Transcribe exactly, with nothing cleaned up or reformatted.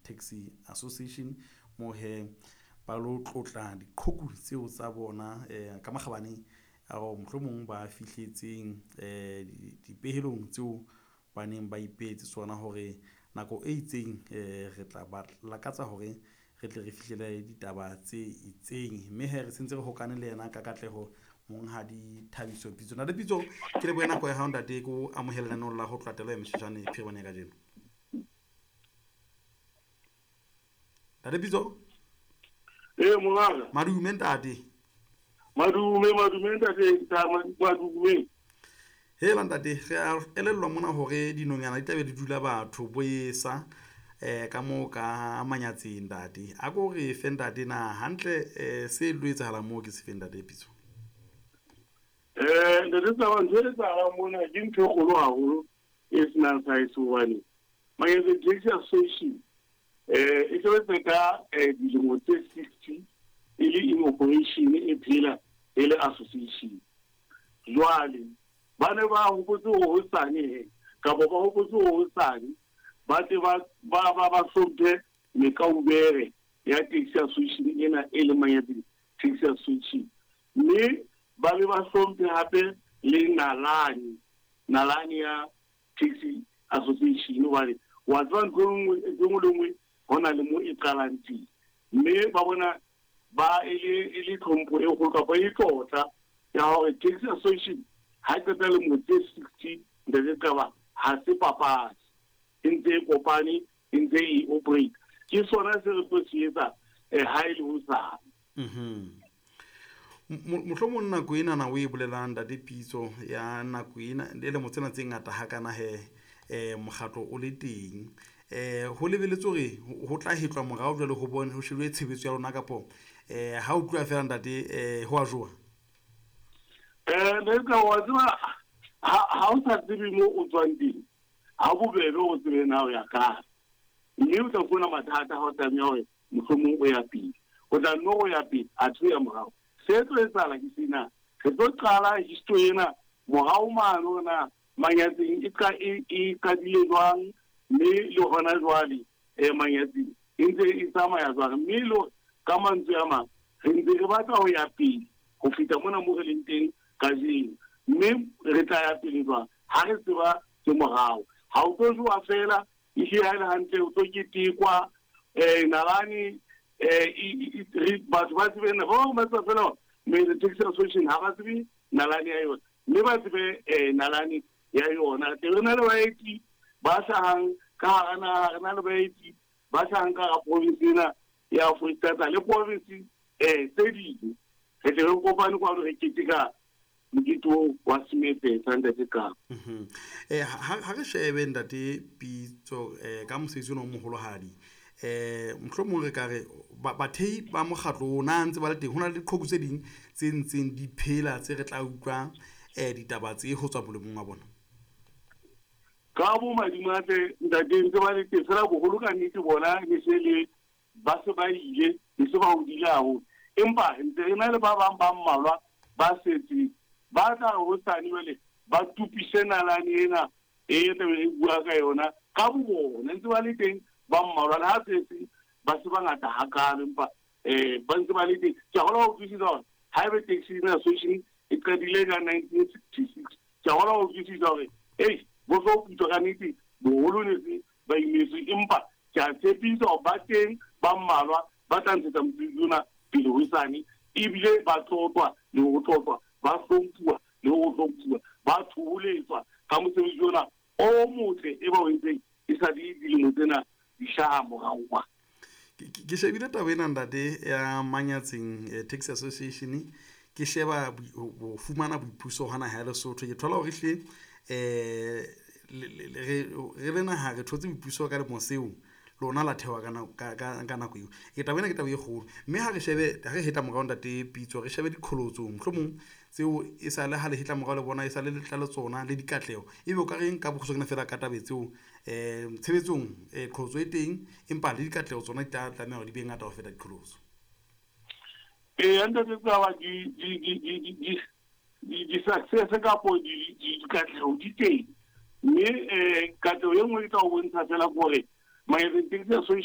Taxi Association mo he ba lo tlotla diqhoku tseo tsa bona um ka makgabane ao mohlomong ba fihletseng um dipehelong tseo ba neng ba ipehetse tsona hore nako e itseng um re tla ba lakatsa hore re tle re fihlele ditaba tse itseng. Mme he re sentse re hokane le yena ka katleho monghadi Thabiso Pitso. Ntate Pitso, ke lebohe nako ya hao ntate, ke o amohele lenaneong la ho tlatela ya mesheshane phirimane ya kajeno. Ntate Pitso. Ee, mongaka. Madume ntate. Madume, madume ntate, madume. Hela ntate, re a elellwa mona hore dinonyana di tlabe di dula batho bo esa eh ka moo ka manyatseng ntate. A ko re fe ntate na hantle eh se lo etsahalang moo ke se fe ntate Pitso? Eh, ntate Tsaba, ntho e etsahalang mona ke ntho e kgolo haholo e senang size hobane Manyatseng Taxi Association eh e sebetsa ka eh dilemo tse sixty e le in operation e phela e le association. Jwale ba ne ba hopotse hore hosane he kapa ba hopotse hore hosane ba tle ba ba ba ba hlomphe mekaubere ya taxi association ena e leng Manyatseng Taxi Association, mme ba be ba hlomphe hape le nalane nalane ya taxi association hobane wa tseba ntho e nngwe e nngwe le nngwe ho na le mo e qalang teng, mme ba bona ba e le e le tlhompho e kgolo kapa e tlotla ya hore taxi association ha e qeta lemo tse sixty ntate Qaba ha se papadi, e ntse e kopane, e ntse e operate. Ke sona se re tlo se etsa eh ha e le hosane. Mhm. Mohlomong nako ena na o e bolelang ntate Pitso ya nako ena le lemo tsena tse ngata hakana he eh mokgatlo o le teng eh ho lebeletse hore ho tla hetlwa morao jwale ho bone ho shebile tshebetso ya lona kapo eh ha o tloha fela ntate eh ho a jowa? Eh ntate wa tseba ha ha o sa tsebe mo o tswang teng ha bobebe o tsebe na o ya kae, mme o tla fumana mathata ha o tlameha hore mohlomong o ya pele, o tla nno o ya pele athe o ya morao. Se tlo etsahala ke sena, re tlo qala history ena morao mane hore na Manyatseng e ka e e qadile jwang, mme le hona jwale eh Manyatseng e ntse e tsamaya jwang, mme le ka mantswe a mang re ntse re batla ho ya pele ho feta mona mo re leng teng kajeno, mme re tla ya pele jwang ha re tseba ke morao. Ha o tlo jowa fela ehlile ha e le hantle o tlo ketekwa eh nalane eh batho ba tsebe na ba bang ba tseba fela hore Taxi Association ha ba tsebe nalane ya yona, mme ba tsebe eh nalane ya yona. Teng re na le baeti ba hlahang ka hara naha, re na le baeti ba hlahang ka hara province ena ya Foreisetata le province eh tse ding. Re tle re kopane kwano re keteka mokete oo wa Semefesa ntate Qaba. Mhm. Eh ha ha re shebe ntate Pitso eh ka mosebetsi ona o moholohadi eh mohlomong re ka re bathei ba mokgatlo ona ntse ba le teng, ho na le diqhoku tse ding tse ntseng di phela tse re tla utlwa eh ditaba tse ho tswa molemong wa bona. Ka bo madimatle ntate ntse ba le teng fela boholo ka nnete bona ne se le ba se ba ile ne se ba hodile haholo, empa ntse re na le ba bang ba mmalwa ba setseng ba tla re hosane jwale ba tupise nalane ena e tlabe re bua ka yona ka bo bona ntse ba le teng ba mmalwa, le ha setse ba se bangata hakalo empa eh ba ntse ba le teng. Ke a kgolwa ho utlwisisa hore haebe taxi association e qadile ka nineteen sixty-six, ke a kgolwa ho utlwisisa hore ei bo tlo putswa ka nnete boholo ne se ba imetswe, empa ke a tshepisa hore ba teng ba mmalwa ba tla ntshetsa mosebetsi ona pele hosane, ebile ba tlotlwa le ho tlotlwa, ba hlomphuwa le ho hlomphuwa, ba thoholetswa ka mosebetsi ona o motle e ba o entseng e sa le dilemo tsena di hlaha morao kwa. Ke shebile taba ena ntate ya Manyatseng eh, Taxi Association, ke sheba ho fumana boipuso hona ha Lesotho, ke thola hore hle eh re le naha re thotse boipuso ka lemo seo lona la thewa ka ka ka nako eo. Ke taba ena ke taba e kgolo, mme ha re shebe ha re hetla morao ntate Pitso, re shebe diqholotso mohlomong tseo e sa le ha le hetla morao le bona e sa le letla le tsona le dikatleho, ebe o ka reng ka bokgutshwanyane fela ka taba tseo eh tshebetsong eh qholotso e teng empa le dikatleho tsona di tla tlameha hore di be ngata ho feta diqholotso. Ee, ntate Tsaba, di di di di di di di success kapo di di dikatleho di teng, mme eh katleho e nngwe ke tla o bontsha fela ke hore Manyatseng Taxi Association